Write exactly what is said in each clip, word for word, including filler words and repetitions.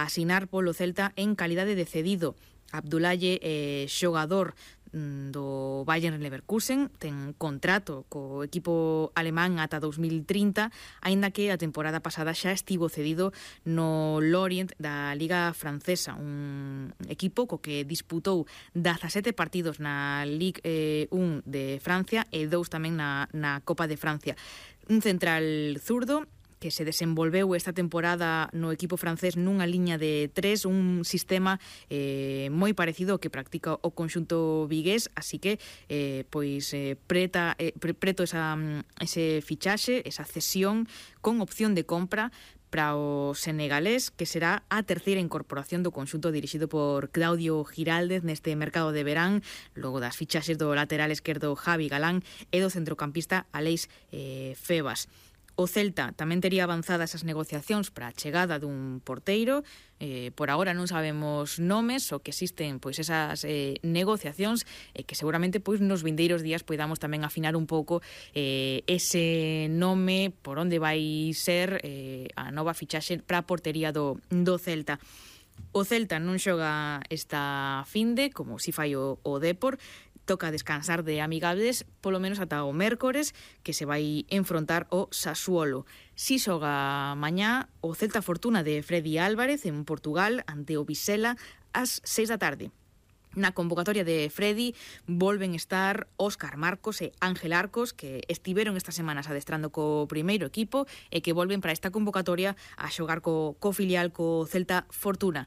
asinar polo Celta en calidade de cedido. Abdullaye, eh, xogador do Bayern Leverkusen, ten contrato co equipo alemán ata dos mil trinta, aínda que a temporada pasada xa estivo cedido no Lorient da Liga Francesa, un equipo co que disputou dezasete partidos na Ligue eh, un de Francia e dous tamén na, na Copa de Francia. Un central zurdo que se desenvolveu esta temporada no equipo francés nunha liña de tres, un sistema eh, moi parecido ao que practica o conxunto vigués, así que eh, pois eh, preta, eh, pre, preto esa, ese fichaxe, esa cesión con opción de compra para o senegalés, que será a terceira incorporación do conxunto dirixido por Claudio Giraldez neste mercado de verán, logo das fichaxes do lateral esquerdo Javi Galán e do centrocampista Aleix eh, Febas. O Celta tamén tería avanzadas as negociacións para a chegada dun porteiro. Eh, por agora non sabemos nomes, o que existen pois esas eh, negociacións e eh, que seguramente pois nos vindeiros días poidamos tamén afinar un pouco eh, ese nome, por onde vai ser eh, a nova fichaxe para a portería do, do Celta. O Celta non xoga esta finde, como si fai o, o Depor. Toca descansar de amigables polo menos ata o mércores, que se vai enfrontar o Sassuolo. Si xoga mañá o Celta Fortuna de Freddy Álvarez en Portugal ante o Vizela ás seis da tarde. Na convocatoria de Freddy volven estar Óscar Marcos e Ángel Arcos, que estiveron estas semanas adestrando co primeiro equipo e que volven para esta convocatoria a xogar co, co filial co Celta Fortuna.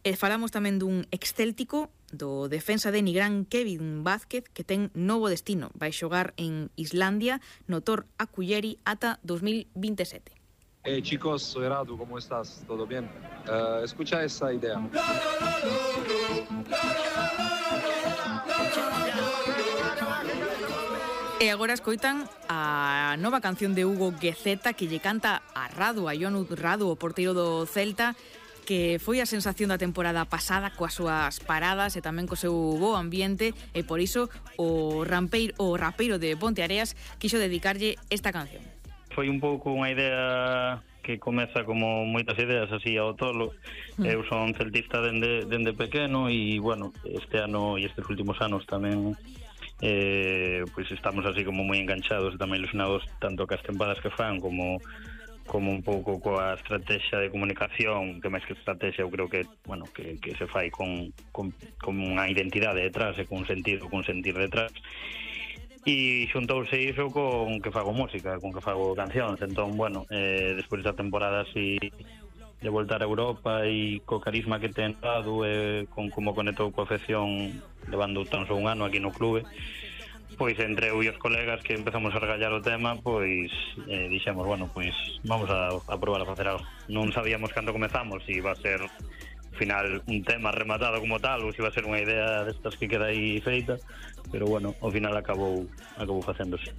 E falamos tamén dun excéltico, do defensa de Nigrán Kevin Vázquez, que ten novo destino. Vai xogar en Islandia no Tor Akulleri ata dos mil veintisiete. Hey chicos, soy Radu, ¿cómo estás? ¿Todo bien? Uh, escucha esa idea. E agora escoitan a nova canción de Hugo Guezeta que lle canta a Radu, a Ionu Radu, o porteiro do Celta, que foi a sensación da temporada pasada coas súas paradas e tamén co seu bo ambiente, e por iso o rampeiro, o rapeiro de Ponteareas quixo dedicarlle esta canción. Foi un pouco unha idea que comeza como moitas ideas así ao tolo. Mm. Eu son celtista dende, dende pequeno e, bueno, este ano e estes últimos anos tamén eh, pois estamos así como moi enganchados e tamén ilusionados tanto cas tempadas que fan como como un pouco coa estrategia de comunicación, que máis que estrategia eu creo que, bueno, que, que se fai con, con, con unha identidade detrás e con sentido, con sentir detrás. E xuntouse iso con que fago música, con que fago cancións. Entón, bueno, eh, despois da temporada así de voltar a Europa e co carisma que ten dado e con como conectou coa afección levando tan só un ano aquí no clube, pois entre eu e os colegas que empezamos a regallar o tema, pois eh, dixemos, bueno, pois vamos a, a probar a facer algo. Non sabíamos cando comezamos se iba a ser ao final un tema rematado como tal ou se iba a ser unha idea destas que queda aí feita, pero bueno, ao final acabou acabou facéndose.